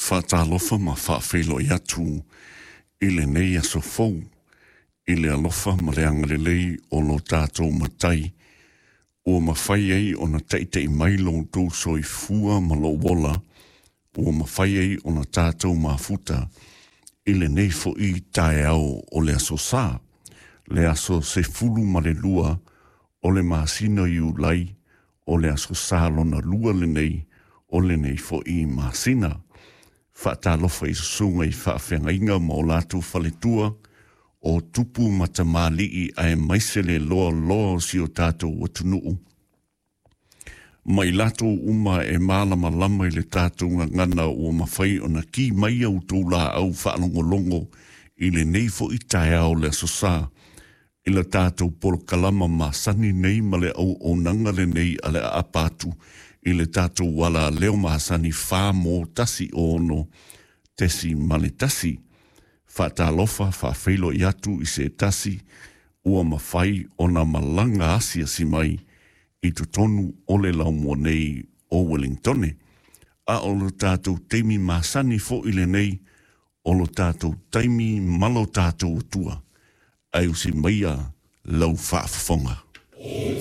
Faatalofa ma faafeiloai atu i lenei aso fou i le alofa ma le agalelei o lo tatou Matai ua mafai ai ona taita'i mai lo outou soifua ma lou ola ua mafai ai ona tatou mafuta i lenei fo'i taeao o le aso Sa, le aso 12 o le masina Iulai, o le aso Sa lona lua lenei o lenei fo'i masina. Faatalofa i susuga i faafeagaiga ma o latou faletua, o tupu ma tamalii aemaise le loaloa o si o tatou atunuu, ma i latou uma e malamalama i le tatou gagana ua mafai ona ki mai a outou laau faalogologo i lenei foi taeao le aso Sa i le tatou polokalama masani nei ma le auaunaga lenei a le aapa atu i le tatou ala leo masani 416.1. Faatalofa faafeiloai atu i se tasi ua mafai ona malaga asiasi mai i totonu o le laumua nei o Wellingtone. A o lo tatou taimi masani fo'i lenei o lo tatou taimi ma lo tatou Atua, ae usi maia lau faafofoga.